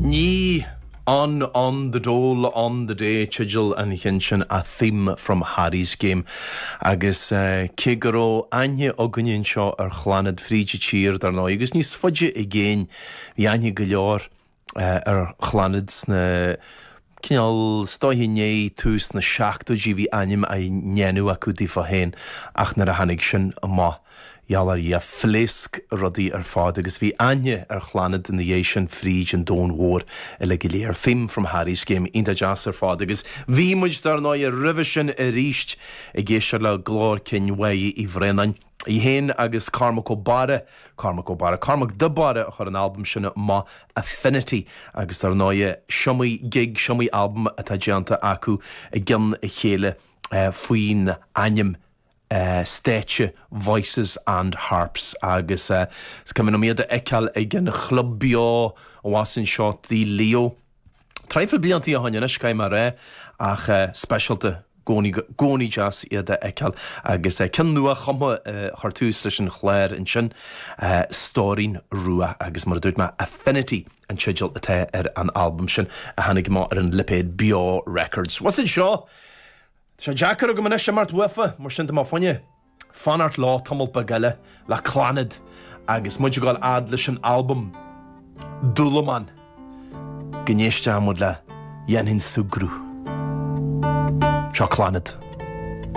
Ní On On The Dole On The Day teideal an chinn sin, A Theme From Harry's Game. Agus cé go raibh aithne againne anseo ar Chlannad fríd an tír, dar ndóigh, agus níos faide i gcéin, bhí aithne go leor ar Chlannad sna, cineál, is dóiche i ndiaidh tús na seachtóidí bhí ainm á ndéanamh acu daofa féin ach nuair a tháinig sin amach, gheall ar Dhia, phléasc rudaí ar fad agus bhí aithne ar Chlannad ina dhiaidh sin fríd an domhan mhór uilig go léir. Theme from Harry's Game, iontach deas ar fad agus bhí muid dar ndóighe roimhe sin aríst ag éisteacht le glór cinn Mháire Uí Bhraonáin. Í féin agus Cormac Ó Barra, Cormac Ó Barra, Cormac de Barra a chuir an albam sin amach, Affinity, agus dar ndóighe, is iomaí gig, is iomaí albam atá déanta acu i gcionn a chéile faoin ainm stáitse Voices and Harps agus is cuimhin liom iad a fheiceáil ag an Chlub Beo abhus anseo Tigh Leo. Traidhfil bliantaí ó shoin anois, caithfidh mé a rá, ach speisialta i gcónaí deas iad a fheiceáil. Agus ceann nua chumtha a chuir tús leis an chlár ansin, Stóirín Rua, agus mar a dúirt mé, Affinity an teideal atá ar an albam sin a tháinig amach ar an lipéad Beo Records. Bhus anseo, tá sé deacair agam anois imeacht uafa, mar sin tá mé fá choinne fanacht leo tamall beag eile le Clannad agus muid ag dul fhad leis an albam Dúlamán go n-éistfidh muid le Dhéanfainn Súgradh. Seo Clannad.